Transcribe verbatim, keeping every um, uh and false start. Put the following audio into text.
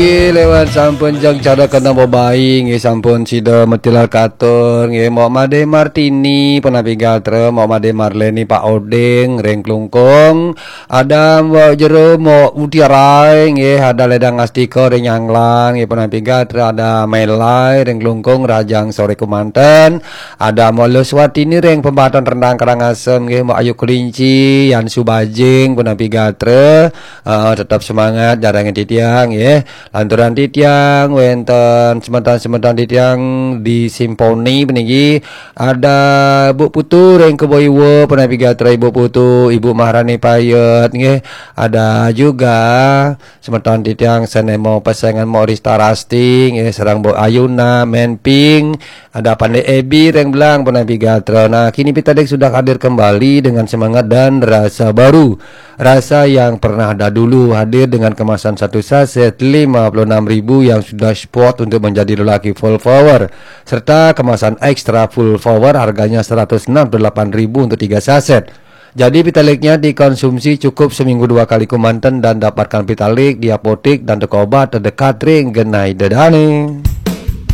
Lewat sampun jeng cara kena bebai nggih, sampun sida metilar katur nggih, Mok Made Martini, punapi gatra, Mok Made Marleni, Pak Oding ring Klungkung, ada Mok Jero, Mok Mutiarai nggih, ada Ledang Astika ring Nyanglan nggih, punapi gatra, ada Melai ring Klungkung, rahajeng sore kemanten, ada Mok Luswatini ring Pembaton Rendang Karangasem nggih, Mok Ayu Kelinci, Yan Subajing, punapi gatra, eh, tetap semangat, jarang titiang nggih. Lanturan titiang wenten semeton-semeton titiang di Simponi puniki, ada Bu Putu ring Kebo Iwa, punapi gatra Ibu Putu, Ibu Maharani Payet nggih. Ada juga semeton titiang sane mau pesengan mau Rista Rasti nggih, sareng Bu Ayuna, Menping, ada Pandai Ebi ring Belang, punapi gatra. Nah, kini Pitadik sudah hadir kembali dengan semangat dan rasa baru. Rasa yang pernah ada dulu hadir dengan kemasan satu saset lima puluh enam ribu yang sudah spot untuk menjadi lelaki full power, serta kemasan ekstra full power harganya seratus enam puluh delapan ribu untuk tiga saset. Jadi Pitaliknya dikonsumsi cukup seminggu dua kali kemanten dan dapatkan Pitalik di apotek dan toko obat terdekat ring genah ida dane.